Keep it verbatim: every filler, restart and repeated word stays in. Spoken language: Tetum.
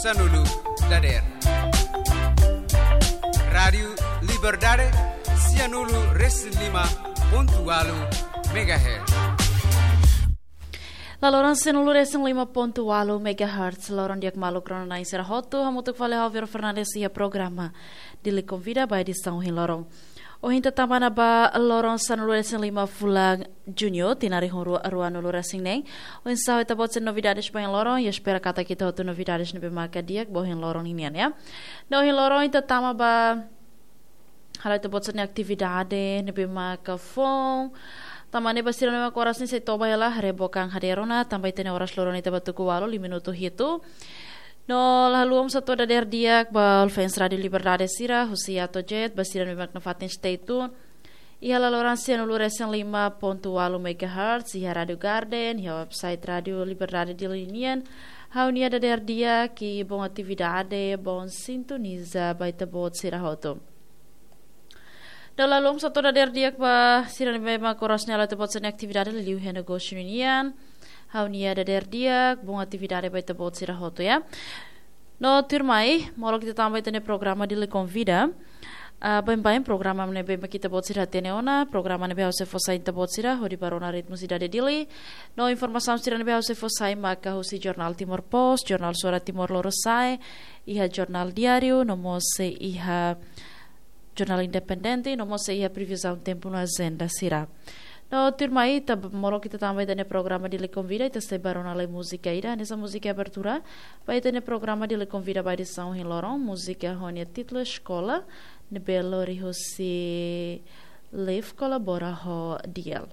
Sanulu dader. Rádiu Liberdade, sianulu resin lima pontu walu megahertz. Laloran sianulu resin lima pontu walu megahertz, loron di'ak maluk rona-na'in sira hotu, hamutuk fali ho Vero Fernandes iha programa Dili Konvida ba edisaun ohin loron. Ohin ita tama ona ba loron sanulu resin lima fulan Junho, tinan rihun rua, ruanulu resin neen. Oinsá ho ita-boot sira-nia novidades ba ohin loron, i espera katak ita hotu novidades ne'ebé maka di'ak ba ohin loron ninian, ya. No ohin loron ita tama ba halo ita-boot sira-nia atividade ne'ebé maka foun. Tanba ne'e ba sira ne'ebé maka oras ne'e sei toba hela, haree book an hadeer ona, tanba ita-nia oras loron ne'e ita ba tuku ualu, liu minutu hitu. No la haluha mós hato'o dadeer di'ak ba all fans Rádiu Liberdade sira, husi A to'o Z, ba sira ne'ebé mak nafatin stay tune iha laloran sianulu resin lima pontu walu megahertz, iha Rádiu Garden, iha website Rádiu Liberdade Dili nian. Ha'u-nia dadeer di'ak i bom atividade, bom sintoniza ba ita-boot sira hotu. No la haluha mós hato'o dadeer di'ak ba sira ne'ebé maka oras ne'e halo ita-boot sira-nia atividade liuliu iha negósiu ninian. Ha'u-nia dadeer di'ak, bom atividade ba ita-boot sira hotu, ya. No tuirmai, molok ita tama ba ita-nia programa Dili Konvida. Ah, baibain programa ne'ebé mak ita-boot sira hatene ona, programa ne'ebé ha'u sei fó sai ita-boot sira, hodi bá rona ritmu sidade Dili. No informasaun sira ne'ebé ha'u sei fó sai maka husi Jornál Timor Post, Jornál Suara Timor Lorosa'e, iha Jornál Diáriu, no mós iha Jornál Independente, no mós iha previzaun tempu no ajenda sira. No tuirmai ita molok ita tama ba ita-nia programa Dili Konvida, ita sei bá rona lai múzika ida, hanesan múzika abertura ba ita-nia programa Dili Konvida ba edisaun ohin loron, múzika ho nia títulu Eskola, ne'ebé lori husi Live kolabora ho D L.